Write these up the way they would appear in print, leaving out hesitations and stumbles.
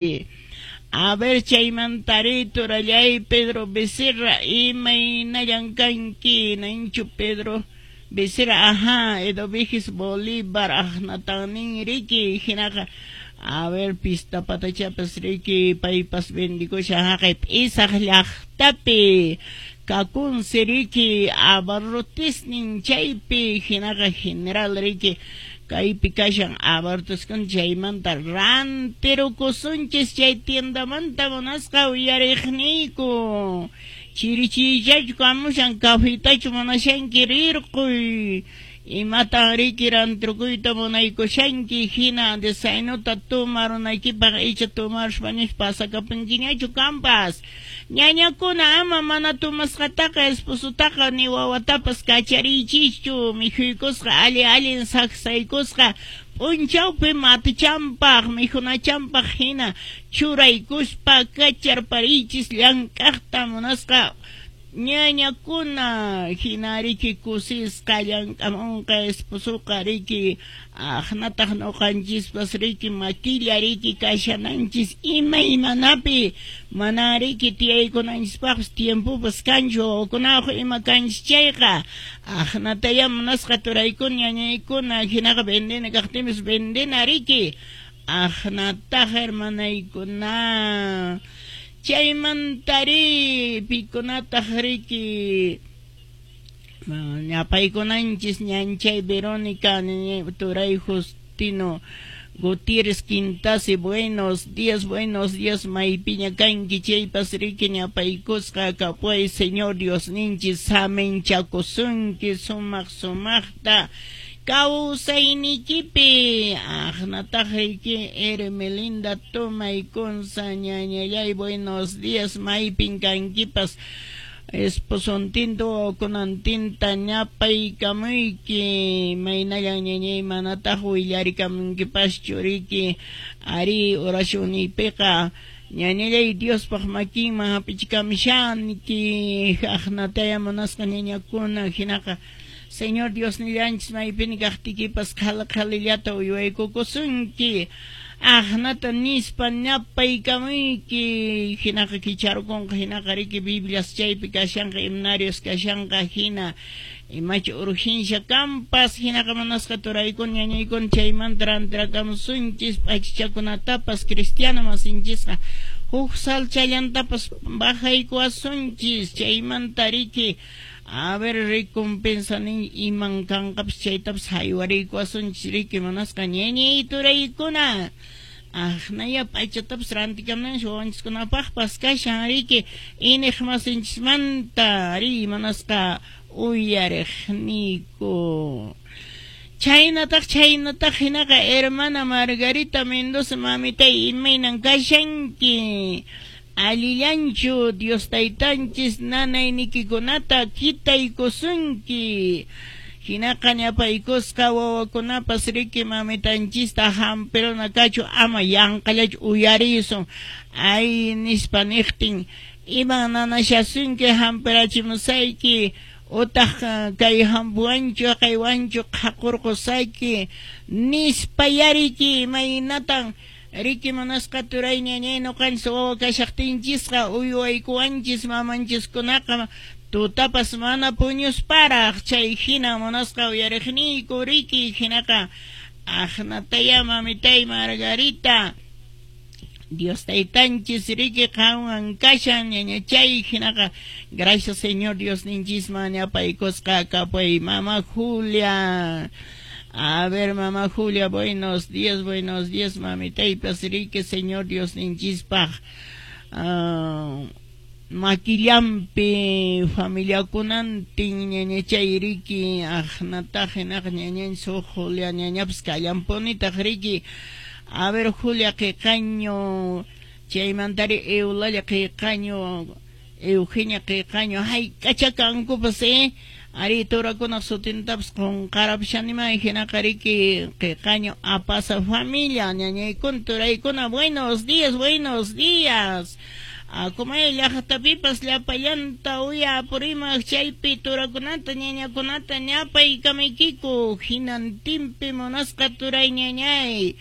A ver, chaymantari turallay Pedro Becerra, imaynallan kanki, ninchu Pedro Becerra, ajá, Edovigis Bolívar, aqnatan riki, hinaqa, a ver, pista patachapas riki, paypas bendikusha haqay p'isaq llaqtapi, kakunsi riki, abarrotisnin chaypi, hinaqa general riki, kaypi kashan abarrotiskuna chaymanta rantirukusunchis chay tiendamanta munasqa uyariqniyku. Chirichiychachu kamushan cafetachu munashanki rirquy. Imatan riki rantirukuyta munaykushanki hina desayunuta tomarunaykipaq icha tomaruspa pasakapunkiñachu kampas. Ñañakuna ama mana tomasqataqa esposotaqa ni wawatapas kachariychischu mikhuykusqa alli allin saksaykusqa p'unchawpi matichanpaq mikhunachanpaq hina churaykuspa kacharpariychis llank'aqta munasqa ñañakuna hina riki kusisqa llank'amunqa esposoqa riki aqnataq ñuqanchispas riki makilla riki kashananchis imaymanapi mana riki tiyaykunanchispaqpas tiempopas kanchu wawakunawaq ima kanchis chayqa aqnataya munasqa turaykuna ñañaykuna hinaqa vendena kaqtinpis vendena riki aqnataq hermanaykuna. Chaymantari pikunataq riki ñapaykunanchis ñanchay Verónica turay Justino Gutiérrez Quintasi, buenos días maypiña kanki chaypas riki ñapaykusqa kapuay Señor Dios ninchis saminchakusunki sumaq sumaqta kawsaynikipi aqnataq riki Hermelinda Tomay Consa ñañallay buenos días maypin kankipas esposontinta wawakunantinta ñapaykamuyki maynallan ñañay manataq willarikamunkipaschu riki ari oracionniypiqa ñañallay Diospaq makinman hap'ichikamshanki aqnataya munasqa ñañakuna hinaqa Señor Dios nillanchis maypini kaqtikipas qhali qhalillata uywaykukusunki aqnata nispa ñapaykamuyki hinaqa kicharukunqa hinaqa riki Biblias chaypi kashanqa himnarios kashanqa hina imachu urgencia kampas hinaqa munasqa turaykuna ñañaykuna chaymanta rantirakamusunchis p'achachakunatapas cristiano masinchisqa huk salchallantapas bajaykuwasunchis chaymanta riki a ver recompensa nin iman kanqapas chaytapas haywariykuwasunchis riki munasqa ñañay turaykuna aqnaya p'achatapas rantikamunanchis wawanchiskunapaqpas kashan riki iniq masinchismanta ri munasqa uyariqniyku. Chaynataq chaynataq hinaqa hermana Margarita Mendoza mamitay imaynan kashanki allillanchu Dios taytanchis nanaynikikunata kitaykusunki hinaqa ñapaykusqa wawakunapas riki mamitanchista hampiruna kachu ama yanqallachu uyarisun ay nispa niqtin iman nanashasunki hampirachimusayki utaq kay hampuwanchu kaywanchu qhaqurqusayki nispa yariki imaynatan riki munasqa turay ñañay ñuqanchis wawa kashaqtinchisqa uywaykuwanchis mamanchiskunaqa tutapas mana puñusparaq chay hina munasqa uyariqniyku riki hinaqa aqnataya mamitay Margarita Dios taytanchis riki qanwan kashan ñañachay hinaqa gracias Señor Dios ninchisman ñapaykusqa kapuy mama Julia. A ver, mamá Julia, buenos días, mamitaypas riki Señor Dios ninchispaq makillanpi familiakunantin ñañachay riki aqnataq hinaqa ñañanchis huk Julia ñañapas kallanpunitaq riki. A ver, Julia qiqaño chaymantari Eulalia qiqaño Eugenia qiqaño hayk'acha kankupas ari turakunaq sutintapas qunqarapushanimay hinaqa riki qiqaño apasa familia ñañaykuna turaykuna buenos días buenos días. Akumay llaqtapipas llapallanta uya purimaq chaypi turakunata ñañakunata ñapaykamaykiku hinantinpi munasqa turay ñañay.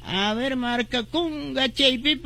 A ver, marcakunga chaypipas.